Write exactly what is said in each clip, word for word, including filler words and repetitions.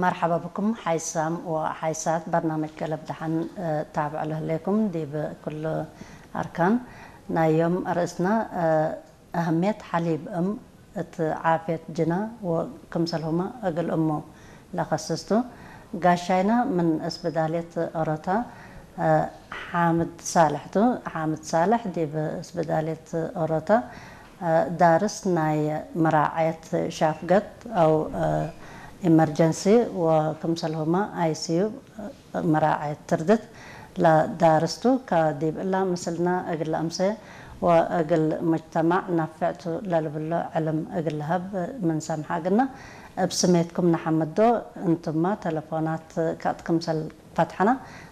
መርሐባ ብኩም ሓይሳም ወሓይሳት በርናምጅ ገለብ ደሐን፣ እ፣ ታብዕ ለህሌኩም ዲብ ኩሉ አርካን ናይ ዮም አርእስና፣ እ፣ አህምየት ሐሊብ እም እት ዓፍየት ጅና ወክምሰልሁመ እግል እሙ ለከስስቱ። ጋሻይና ምን እስብዳልየት ኦሮታ፣ እ፣ ሓምድ ሳልሕ ቱ። ሓምድ ሳልሕ ዲብ እስብዳልየት ኦሮታ፣ እ፣ ዳርስ ናይ መራዐየት ሻፍገት አው፣ እ፣ ኢመርጀንሲ ወክምሰልሁመ አይ ሲ ዩ መራዐየት ትርድት ለዳርስ ቱ። ከዲብ እላ ምስልና እግል አምሴ ወእግል ሙጅተማዕ ናፍዕ ቱ ለልብሎ ዕልም እግል ለሀብ ምን ሰምሐ እግልና፣ እብ ስሜትኩም ነሐምዶ። እንቱመ ተለፎናት ከእት ክምሰል ፈትሐና፣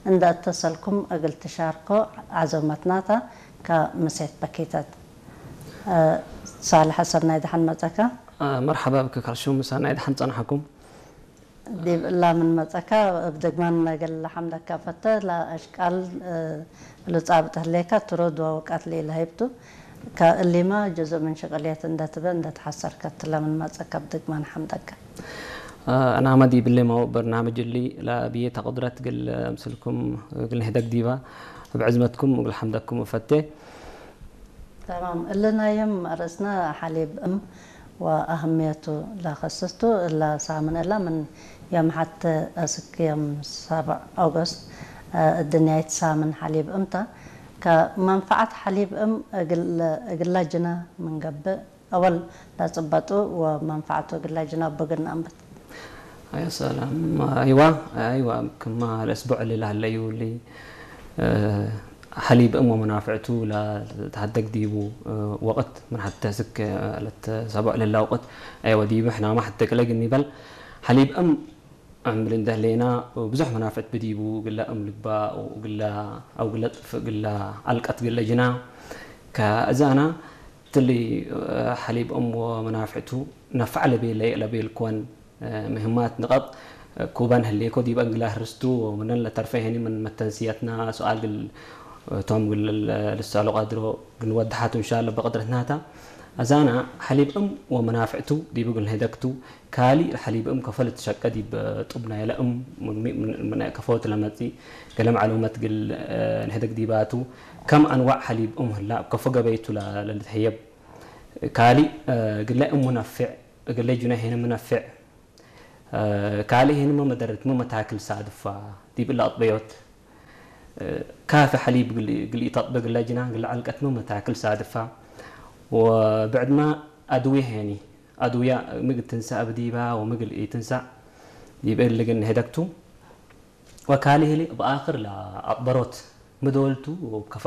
እንደ እተሰልኩም እግል ትሻርኮ ዐዞመትናታ ከምሴት በኪተት። እ፣ ሳልሐ ሰናይ ደሐን መጸካ። እ፣ መርሐባ ብክ ካልሹም፣ ሰናይ ደሐን ጸንሐኩም። ዲብ እላ ምን መጸካ እብ ድግማን እግል ለሐምደካ ፈተ። ለአሽቃል፣ እ፣ እሉ ጻብጥ ህሌከ ትሩድ ወውቀት ለኢለሀይብ ቱ። ከእሊመ ጅዙእ ምን ሽቅልየት እንደ ትበ እንደ ተሐሰርከት ለምን መጸካ እብ ድግማን ሐምደካ። አ፣ አናመ ዲብሌ ማው በርናምጅ እሊ ለአብዬ ተቅድረት እግል ምስልኩም እግል ንህደግ ዲባ እብ ዕዝመትኩም እግል ሐምደኩም እፈቴ። ተማም። እሊ ናይ ዮም አርእስነ ሐሊብ እም ወአህምየቱ ለከስስ ቱ። እለ ሳምን እለ ምን ዮም ሐቴ አስክ ዮም ሰብዕ ኦገስት፣ አ፣ እድንያይት ሳምን ሐሊብ እም ተ። ከመንፈዐት ሐሊብ እም እግል፣ እግለ ጅነ ምን ገብእ፣ አወል ለጽበጡ ወመንፈዐቱ እግለ ጅነ እቡ እግል ነአንብት። አያ ሰላም። አይዋ፣ አይዋ፣ ክማ ለእስቡዕ እሊ ለህለዩ እሊ፣ እ፣ ሐሊብ እም ወመናፍዕቱ ለልትሀደግ ዲቡ፣ እ፣ ወቅት ምን ሐቴ አስክ፣ እ፣ ለሰብዕ ለላ ወቅት፣ አይዋ፣ ዲቡ ሕናመ ሐቴ ቅለ እግል ኒበል ሐሊብ እም እምብል እንደ ህሌና ብዙሕ መናፍዕት ብዲቡ፣ እግለ እም ልግባእ ወእግለ፣ አው እግለ ጥፍእ እግለ አልቀት እግለ ጅና። ከእዛና እትሊ ሐሊብ እም ወመናፍዕቱ ነፈዕ ለቤለ ለቤልኮን ምህማት ንቀጥ ኩበን ህሌኮ ዲበ እግለ ህርስቱ። ወምነን ለተርፈ ሄኒ ምን መተንስየትና ሱኣል እግል ቶም እግል ልሰአሎ ቀድሮ እግል ንወድሓቱ እንሻለ በቅድረትናታ። አዛና ሐሊብ እም ወመናፍዕቱ ዲብ እግል ንህደግቱ። ካሊ ሐሊብ እም ከፎ ልትሸቀ ዲብ ጡብ ናይለ እም ምን፣ ምን፣ ምን ከፎ ለመጽእ ገሌ መዕሉመት እግል ንህደግ ዲባቱ። ከም አንዋዕ ሐሊብ እም ህላ እብ ከፎ ገበይቱ ለ-፣ ለልትህየብ። ካሊ እግለ እም ሙነፍዕ፣ እግለ ጁነ ሄነ ሙነፍዕ። ካልእ ሄንመ መደረትመ መታክል ሳድፋ ዲብ እለ አጥበዮት። ካፊ ሐሊብ እግል፣ እግል ኢተጥበ እግለ ጅናን እግለ ዐልቀትመ መታክል ሳድፋ። ወብዕድመ አድውየ ሄኒ፣ አድውየ ምግል ትንሰእ እብ ዲባ ወምግል ኢትንሰእ ዲብ እሊ እግል ንህደግቱ። ወካሊ ህሊ እብ አክር ለአጥበሮት ምዶልቱ ወከፎ